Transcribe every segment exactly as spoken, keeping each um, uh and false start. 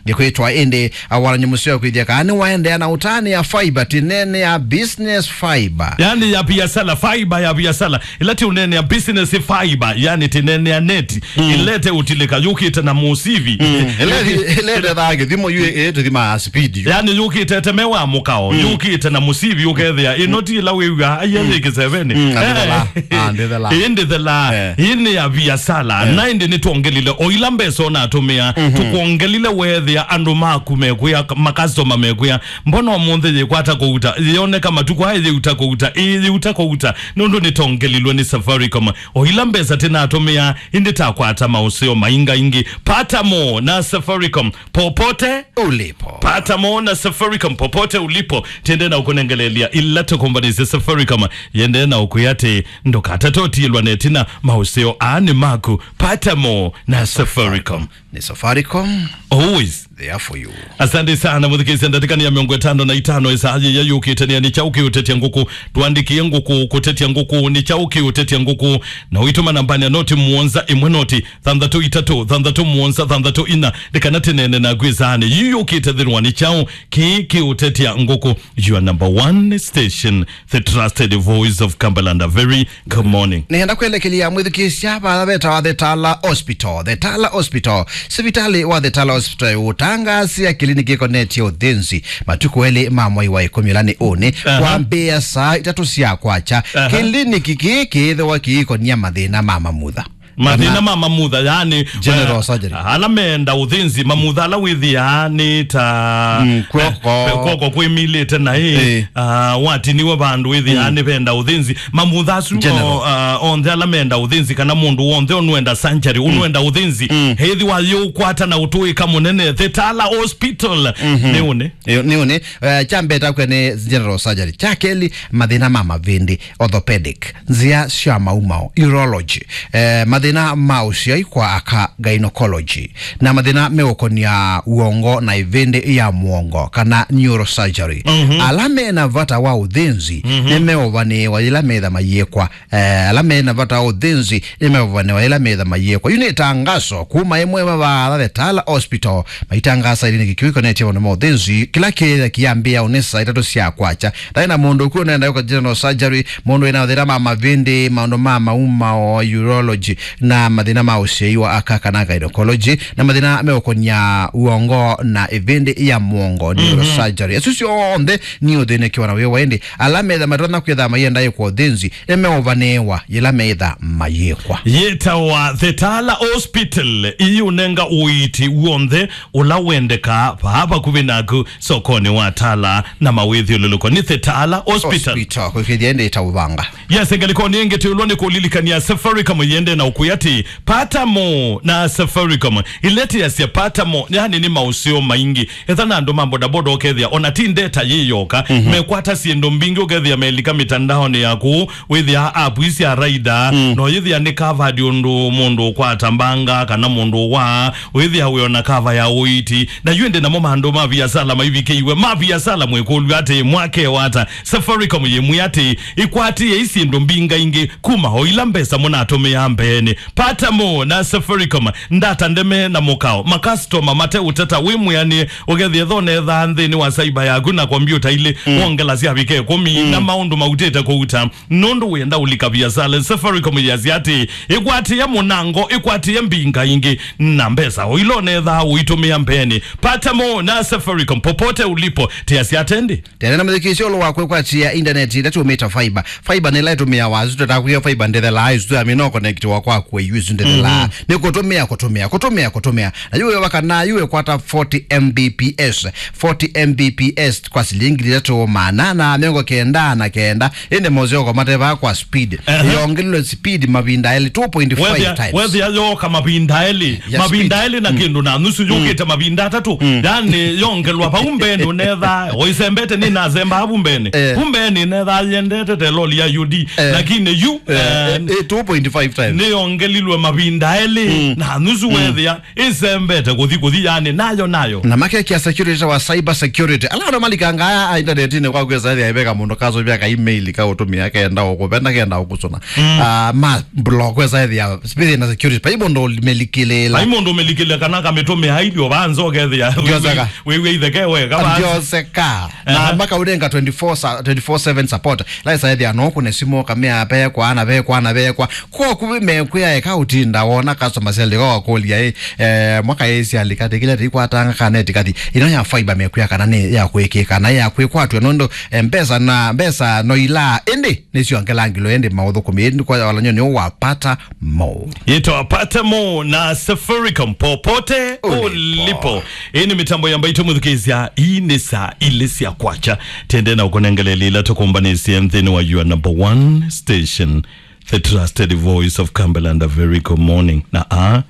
Nĩkwĩtwa ĩndĩ, awalany'o mũseo kwĩthĩa kana nĩwaendeea na ũtanĩa fiber, tinene ya business fiber. Yani ya biasala, fiber ya biasala. Ĩla ti ũnene ya business fiber, yani tinene ya neti. Mm. Ĩlete ũtilĩka, yũkĩte na mũsivi. Mm. Ĩlete, ĩlete thake, thimo yu ĩtũthima speed yu. Yani yũkĩte temewa mũkao, mm, yũkĩte na mũsivi ũkethĩa. Ĩno ti ĩla wĩw'a, aiya, mm, yĩkĩseveni. Mm, andĩthela, andĩthela. Ĩndĩthela, eh, ĩnĩ ya biasala. Eh. Na ĩndĩ nĩtwongelile o ila mbesa ũnatũmĩa, mhm, tũkwongelile wethĩa andũ maku mekwĩa, makastoma mekwĩa, mbona ũmũnthĩ yĩkwata kũuta, yĩoneka matukũ aya yĩuta kũuta, ĩĩ yĩuta kũuta, nũndũ nĩtongelilwe nĩ Safaricom. O ila mbesa tĩnatũmĩa, ĩndĩ takwata maũseo maingaingĩ. Pata mo na Safaricom popote ulipo. Pata mo na Safaricom popote ulipo. Tiende na ũkũnengelelia ila tũkombanĩsye Safaricom. Yende na ũkwĩa atĩ ndũkatate ũtiĩlwa netina maũseo aa nĩ maku. Pata mo na Safaricom. Nĩ Safaricom. Always there for you. Asante sana, mũthikĩĩsya. Ndatĩka nĩ ya mĩongo ĩtano na itano ĩsaa yĩya yũkĩte nĩ ya nĩ kyaũ kĩũtetya ngũkũ. Twandĩkĩe ngũkũ kũtetya ngũkũ, nĩ kyaũ kĩũtetya ngũkũ. Na ũitũma nambani ya noti mũonza ĩmwe noti thanthatũ itatũ thanthatũ mũonza thanthatũ ina. Nĩ kana tĩnene naku ĩsaanĩ yĩĩ yũkĩte thĩnwa nĩ kyaũ kĩĩ kĩũtetya ngũkũ. Your number one station, the trusted voice of Cumberland. A very good morning. Nĩenda kwelekelya mwĩthukĩĩsya vala vetawa The Tala Hospital. The Tala Hospital. Sivitali wa The Tala Hospital ũtangaasya kĩliniki ĩkonetye ũthĩnzi matukũ elĩ ma mwai wa ĩkũmi ũla nĩ ũnĩ, aha, kwambĩĩa saa itatũ sya kwakya. Aha. Kĩliniki kĩĩ kĩĩthĩwa kĩikonia mathĩna ma mamutha. Mathĩna ma mamutha, yani, general, eh, surgery. Ala meenda ũthĩnzi, mamutha ala wĩthĩaa nĩ ta, mm, kw'oko, eh, kw'oko kwĩmilĩte na ĩ, eh, ah, watiniwe vandũ wĩthĩaa, mm, nĩ venda ũthĩnzi. Mamutha asu, general, o, ah, onthe ala meenda ũthĩnzi, kana mũndũ wonthe ũnwenda surgery, mm, ũnwenda ũthĩnzi, mm, ethĩwa yĩũkwata na ũtũĩka mũnene, The Tala Hospital, mhm, nĩ ũnĩ. Ĩĩ, nĩ ũnĩ. Eh, kya mbee takwĩa nĩ general surgery. Kya kelĩ, mathĩna ma mavĩndĩ, orthopedic, nzĩa sya maumao, urology, eh, mathĩna ma ũsyai kwa aka, gynecology, na mathĩna meũkonia w'ongo na ĩvĩndĩ ya mũongo, kana neurosurgery. Mhm. Ala mena vata wa ũthĩnzi, mhm, nĩmeũvanĩĩwa yĩla metha mayĩkwa. Eh, ala mena vata wa ũthĩnzi nĩmeũvanĩwa yĩla metha mayĩkwa. Yu nĩ ĩtangaso kuma ĩmwe mavaatha The Tala Hospital, maitangasa kĩliniki kĩu kĩkonetye maũndũ ma ũthĩnzi, kĩla kĩyĩthĩa kĩyambĩĩa ũnĩ saa itatũ sya kwakya. Ndaĩ na mũndũ ũkw'o ũnenda ĩkwa general surgery, mũndũ wĩna mathĩna ma mavĩndĩ, maũndũ ma maumao, urology, na mathĩna ma ũsyai wa aka kana gynecology, na mathĩna meũkonia w'ongo na ĩvĩndĩ ya mũongo, mhm, neurosurgery. Asu syonthe nĩ ũthĩnĩkĩwa na wĩwa, ĩndĩ ala metha matonya kwĩtha mayenda ĩkwa ũthĩnzi nĩmeũvanĩĩwa yĩla metha mayĩkwa. Yĩtawa The Tala Hospital, ĩyĩũnenga ũiiti w'onthe ũla wendekaa vaa vakuvĩ naku sokonĩ wa Tala na mawĩthyũlũlũko. Nĩ The Tala Hospital. Hospital, kwĩkĩthya ĩndĩ ĩtaũvanga. Yes, ngalĩkonĩ ĩngĩ twĩlwa nĩ kũlilikania Safaricom yĩende na ũkwĩa atĩ pata mo na Safaricom. Ĩla tĩasya pata mo, yani nĩ maũseo maingĩ. Etha na andũ ma bodaboda ũkethĩa, ona ti ndeta yĩ yoka, mhm, mekwata syĩndũ mbingĩ ũkethĩa melika mĩtandaonĩ ya kũu, wĩthĩa app ii sya raida, mm, no yĩthĩa nĩ covered ũndũ mũndũ ũkwata mbanga, kana mũndũ wa, wĩthĩa wĩ ona cover ya ũiiti. Na yu ĩndĩ namo maandũ ma viasala maivikĩiwe, ma viasala mwĩkũlw'a atĩ mwakewata, Safaricom yĩmwĩa atĩ ĩkwatĩei syĩndũ mbingaingĩ kuma o ila mbesa mũnatũmĩaa mbeenĩ. Pata mo na Safaricom, ndata ndeme na mũkao. Makastoma mate ũteta wĩ mwĩanĩe, ũkethĩa ethonethaa nthĩnĩ wa saiba yaku na kombyũta ilĩ, mm, wongela syavika ĩkũmi, mm, na maũndũ mautĩte kũuta. Nũndũ wĩenda ũlika viasala, Safaricom yasya atĩ ĩkwatĩe mũnango, ĩkwatĩe mbingaingĩ, na mbesa o ila ũnethaa ũitũmĩa mbeenĩ. Pata mo na Safaricom popote ulipo, tĩasya atendĩ. Tene na mũthikĩĩsya ũlũ wa kwĩkwatĩa intaneti ĩla tũmĩta fiber. Fiber nĩ ĩla ĩtũmĩawa asu tũtakwĩa fiber ndĩthelaa ĩsu tũyamina ũkonekitiwa kwaku ĩu ĩsu ndĩthelaa. Mhm. Nĩ kũtũmĩa, kũtũmĩa, kũtũmĩa, kũtũmĩa. Na yu wĩwa kana yu ĩkwata forty M B P S. Forty M B P S kwa silingi ithatũ maana na mĩongo kenda na kenda. Ĩndĩ moseo kwa matevaa kwa speed. Ehe. Yongelelwe speed mavinda elĩ, two point five times. Wethĩa yoka mavinda elĩ. Ya mavinda speed. Elĩ na, mm, kĩndũ na nusu, mm, yũkĩte mavinda atatũ. Mm. Yani yongelwa vau mbeenĩ ũnetha, ũisembete nĩ nasembaa vu mbeenĩ. Eh. Vu mbeenĩ netha yendete te loli ya U D. Eh. Lakini yu, eh, eh, eh, two point five times. Nĩ ngelilwe mavinda elĩ, mm, na nusu, mm, wethĩa ĩsembete kũthi, kũthi, yani, nayo, nayo. Na makekĩa security wa cyber security. Ala andũ malikangaa intanetini kwa kwĩsa ethĩa ĩveka mũndũ kasũvya ka email ka ũtũmĩa kenda ũkũvenda kenda ũkũsũna. Mm. Ah, ma block kwĩsa ethĩa space na security. Pai mũndũ ũmelikĩlĩla. Pai mũndũ ũmelikĩlĩla kana kamĩtũmĩa ilio vanza ũkethĩa. Ndioseka. Wĩw'e itheke we, kava. Ndioseka. Na, aha, makaũnenga twenty-four sa-, twenty-four seven support. Laisa ethĩa no kũne simũ kamea vekwa, na vekwa, na vekwa. Kwa kũvĩ mekwĩa eka ũtinda wona customer service kwa wakũlya, eh, eh, mwaka ĩsi alika tikile tikwatanga kana etikathi. Ino ya fiber mekwĩa kana nĩ ya kwĩkĩka na ya kwĩkwatw'a nũndũ, eh, mbesa na mbesa no ila ĩndĩ nĩsyo ngelangilo ĩndĩ maũthũkũmi ĩndĩ kwa walany'o nĩ wapata mo. Yĩtwa Pata Mo na Safaricom popote ulipo. Ulipo. Ĩĩ nĩ mĩtambo ya Mbaitũ mũthukĩĩsya, ii nĩ saa ilĩ sya kwakya. Tende na ũkũnengelelĩ ila tũkũmbanĩsye nthĩnĩ wa your number one station, the trusted voice of Cumberland. A very good morning. Na aa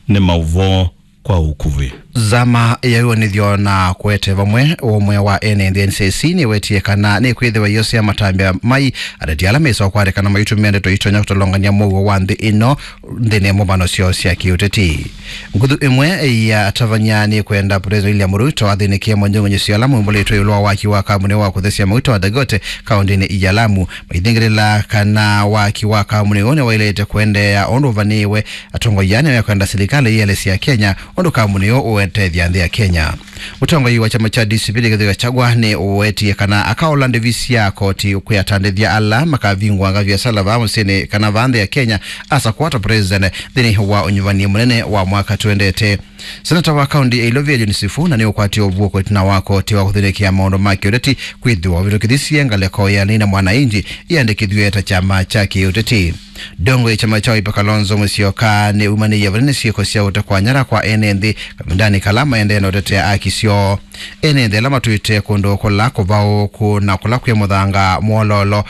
nĩ maũvoo kwa ũkuvĩ. Nzama ya wĩw'anĩthyo na kũete vamwe ũmwe wa ene nthĩ N C C nĩwetie kana nĩkwĩthĩwa iyosea matambya mai ateti ala mesawa kwatĩkana maitũmĩa ndeto itonya kũtolongany'a mũuo wa nthĩ ĩno nthĩnĩ ya mbũmbano syoo sya kĩũteti. Nguthu ĩmwe ya atavany'a nĩkwenda President William Ruto athĩnĩkĩe monyong'onyesyo ala maumbũlĩtwe ĩũlũ wa waki wa kambuni wa kũthesya mauta wa Dangote kaũndĩnĩ ya Lamu. Maithingĩlĩla kana waki wa kambuni ũũ nĩwaĩlĩte kũendeea ũndũ ũvanĩĩwe. Atongoi aa nĩmekwenda silikalĩ ĩelesya Kenya ũndũ kambuni ũũ ũetethya nthĩ ya Kenya. Mũtongoi wa kyama kya D C P Rigathi Gachagua nĩ ũwetie kana akaola ndĩvi sya koti kwĩ atandĩthya ala makavingũanga viasala vaa mũsyĩnĩ kana vaa nthĩ ya Kenya asa kwata president nthĩnĩ wa ũnyuvani mũnene wa mwaka tũendete. Senata wa kaũntĩ ya Ilovia John Sifuna nĩũkwatie ũvuũko ĩtina wa koti wa kũthĩnĩkĩa maũndũ ma kĩũteti kwĩthĩwa ũvĩtũkĩthisye ngalĩko ya Nina Mwananchi ĩandĩkĩthw'e ta kyama kya kĩũteti. Ndongoi ya kyama kya Wiper Kalonzo Musyoka nĩumanĩie vanene syĩko sya ũtekwa nyara kwa ene nthĩ kavindanĩ kala maendee na ũtetea aki syoo. Ene nthĩ ala matwĩte kũndũ kũla kũvaũũku na kũla kwĩ mũthanga mwololo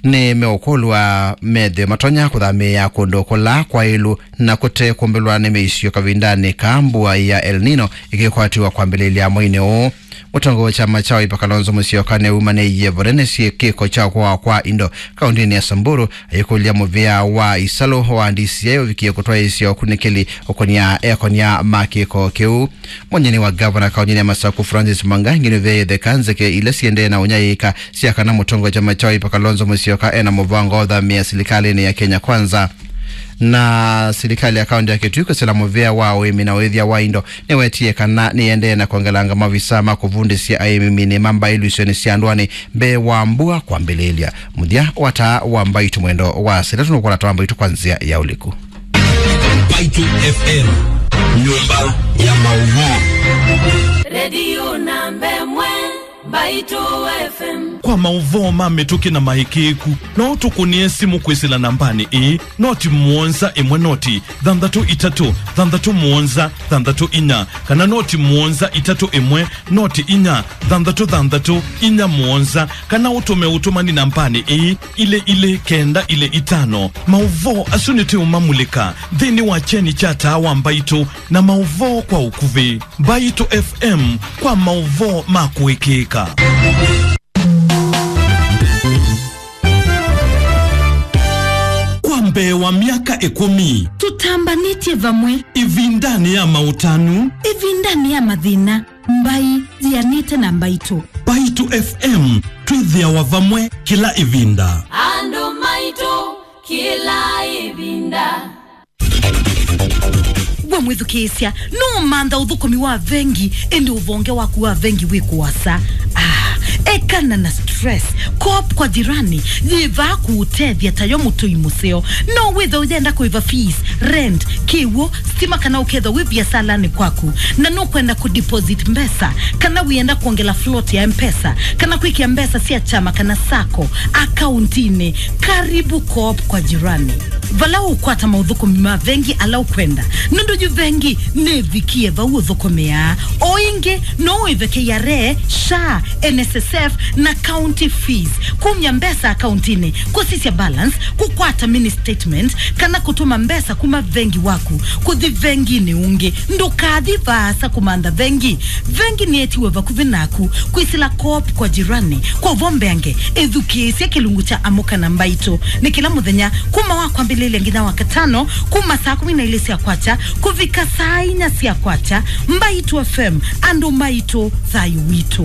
nĩmeũkũlw'a methĩwe matonya kũthamĩĩa kũndũ kũla kwaĩlu na kũte kũmbĩlwa nĩ mĩisyo kavindanĩ ka mbua ya El Nino ĩkĩkwatiwa kwambĩlĩlya mweinĩ ũũ. Mũtongoi wa kyama kya Wiper Kalonzo Musyoka nĩumanĩie vanene syĩkĩko kya kũawa kwa indo kaũndĩnĩ ya Samburu, ayĩkũlya mũvĩa wa Isalu wa D C I ũvikie kũtwaĩĩsya ũkunĩkĩli ũkonia ekonia ma kĩko kĩu. Mũnyeni wa gavana kaũntĩnĩ ya Masaku Francis Mwangangi nĩveĩthe kanzeke ila siendee na ũnyaĩĩka sya kana mũtongoi wa kyama kya Wiper Kalonzo Musyoka ena mũvango wa ũthamĩa silikalĩnĩ ya Kenya Kwanza. Na silikalĩ ya kaũntĩ ya Kitui kwĩsĩla mũvĩa wa ũĩmi na ũĩthya wa indo nĩwetie kana nĩendee na kwongelanga mavisa ma kũvundĩsya aĩmi minĩ ma mbaĩ ilũsyonĩ sya ndũanĩ mbee wa mbua kwambĩlĩĩlya. Mũthya wa taa wa Mbaitũ mwendo wa saa itatũ nũkwona taa wa Mbaitũ kwa nzĩa ya ũliku. Mbaitũ F M, nyũmba ya maũvoo. Redio namba ĩmwe, Mbaitũ F M. Kwa maũvoo ma mĩtũkĩ na maĩkĩĩku, no ũtũkũnĩe simũ kwĩsĩla nambanĩ ĩĩ, noti mũonza ĩmwe noti thanthatũ itatũ thanthatũ mũonza thanthatũ inya, kana noti mũonza itatũ ĩmwe noti inya thanthatũ thanthatũ inya mũonza, kana ũtũme ũtũmani nambanĩ ĩĩ, ilĩ ilĩ kenda ilĩ itano. Maũvoo asu nĩtũũmamulĩka nthĩnĩ wa kyeni kya taa wa Mbaitũ na maũvoo kwa ũkuvĩ. Mbaitũ F M kwa maũvoo ma kũĩkĩĩka. Kwa mbee wa myaka ĩkũmi, tũtambanĩtye vamwe. Ĩvindanĩ ya maũtanu, ĩvindanĩ ya mathĩna, mbaĩ yĩanĩte na Mbaitũ. Mbaitũ F M, twĩthĩawa vamwe kĩla ĩvinda. Andũ maitũ kĩla ĩvinda. We mwĩthukĩĩsya, nũũmantha ũthũkũmi wa vengi, ĩndĩ ũvonge waku wa vengi wĩ kũasa? Ah, ekana na stress. Coop kwa Jirani yĩ vaa kũũtethya ta yo mũtũi mũseo. No wĩthe ũyenda kũĩva fees, rent, kĩw'ũ, stima, kana ũkethwa wĩ viasalanĩ kwaku na nũkwenda kũdeposit mbesa, kana wĩenda kwongela float ya M-Pesa, kana kwĩkĩa mbesa sya kyama kana sacco akauntinĩ, karibu Coop kwa Jirani. Vala ũkwata maũthũkũmi ma vengi ala ũkwenda, nũndũ yu vengi nĩvikie vau ũthũkũmĩaa. O ĩngĩ, no ũĩve K R A, SHA, N S S F, na county fees, kumya mbesa akauntinĩ, kũsisya balance, kũkwata mini statement, kana kũtũma mbesa kuma vengi waku kũthi venginĩ ũngĩ. Ndũkathi vaasa kũmantha vengi. Vengi nĩetiwe vakuvĩ naku. Kwĩsĩla Coop kwa Jirani kwa ũvoo mbeange, ĩthukĩĩsye kĩlungu kya Amũka na Mbaitũ. Nĩ kĩla mũthenya kuma wa kwambĩlĩlya lĩlĩ nginya Wakatano, kuma saa kũmi na ilĩ sya kwakya kũvika saa inya sya kwakya. Mbaitu F M, andũ maitũ, thayũ witũ.